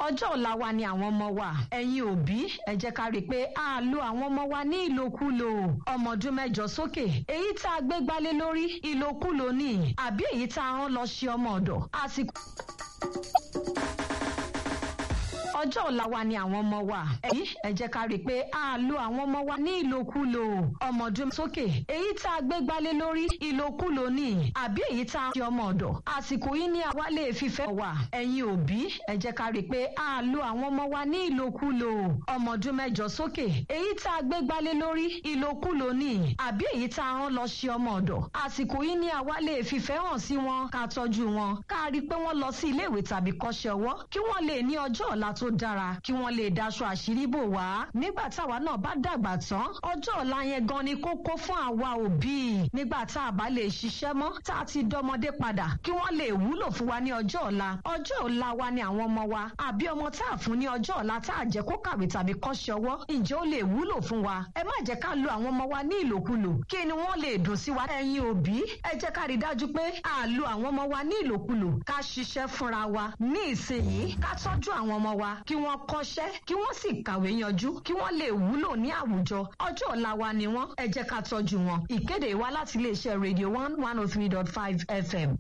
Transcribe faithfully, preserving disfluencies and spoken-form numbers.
Ọjọ́ ọ̀la wa ni àwọn ọmọ wa. Ẹ̀yin òbí, ẹ jẹ́ ká rí i pé a lo àwọn ọmọ wa ní ìlòkulò. Ọmọ ọdún mẹ́jọ sókè, èyí tá a gbé gbálé lórí ìlòkulò ni, àbí èyí tá a rán lọ ṣe ọmọ ọ̀dọ̀. Àsìkò ọjọ́ ọ̀la wa ni àwọn ọmọ wa. Ẹ̀yin, ẹ jẹ́ ká rí i pé a lo àwọn ọmọ wa ní ìlòkulò. Ọmọ ọdún sókè, èyí tá a gbé gbálé lórí ìlòkulò ni, àbí èyí tá a ṣe ọmọ ọ̀dọ̀. Àsìkò yìí ni àwa lè fífẹ́ wà. Ẹ̀yin òbí, ẹ jẹ́ ká rí i pé a lo àwọn ọmọ wa ní ìlòkulò. Ọmọ ọdún mẹ́jọ sókè, èyí tá a gbé gbálé lórí ìlòkulò ni, àbí èyí tá a rán lọ ṣe ọmọ ọ̀dọ̀. Àsìkò yìí ni àwa lè fífẹ́ hàn sí wọn, ká tọ́jú wọn, ká rí i pé wọ́n lọ sí ilé ìwé tàbí kọ́ṣẹ́ ọwọ́, kí wọ́n lè ní ọjọ́ ọ̀la tó dára, kí wọ́n lè daṣọ àṣírí bò wá nígbà táwa náà bá dàgbà tán. Ọjọ́ ọ̀la yẹn gan ni kókó fún àwa òbí, nígbà tá a bá lè ṣiṣẹ́ mọ́, tá a ti dọmọdé padà, kí wọ́n lè wúlò fún wa ní ọjọ́ ọ̀la. Ọjọ́ ọ̀la wa ni àwọn ọmọ wa. Àbí ọmọ tá a fún ní ọjọ́ ọ̀la, tá a jẹ́ kó kàwé tàbí kọ́ṣẹ́ ọwọ́, ǹjẹ́ ó lè wúlò fún wa? Ẹ má jẹ́ ká lo àwọn ọmọ wa ní ìlòkulò. Kí ni wọ́n lè dùn sí wa? Ẹ̀yin òbí, ẹ jẹ́ ká rí dájú pé a lo àwọn ọmọ wa ní ìlòkulò. Ká ṣiṣẹ́ fúnra wa ní ìsinyìí, ká tọ́jú àwọn ọmọ wa, kí wọ́n kọ́ṣẹ́, kí wọ́n sì kàwé yanjú, kí wọ́n lè wúlò ní àwùjọ. Ọjọ́ ọ̀la wa ni wọ́n, ẹ jẹ́ ká tọ́jú wọn. Ìkéde wá láti iléeṣẹ́ Radio One one oh three dot five F M.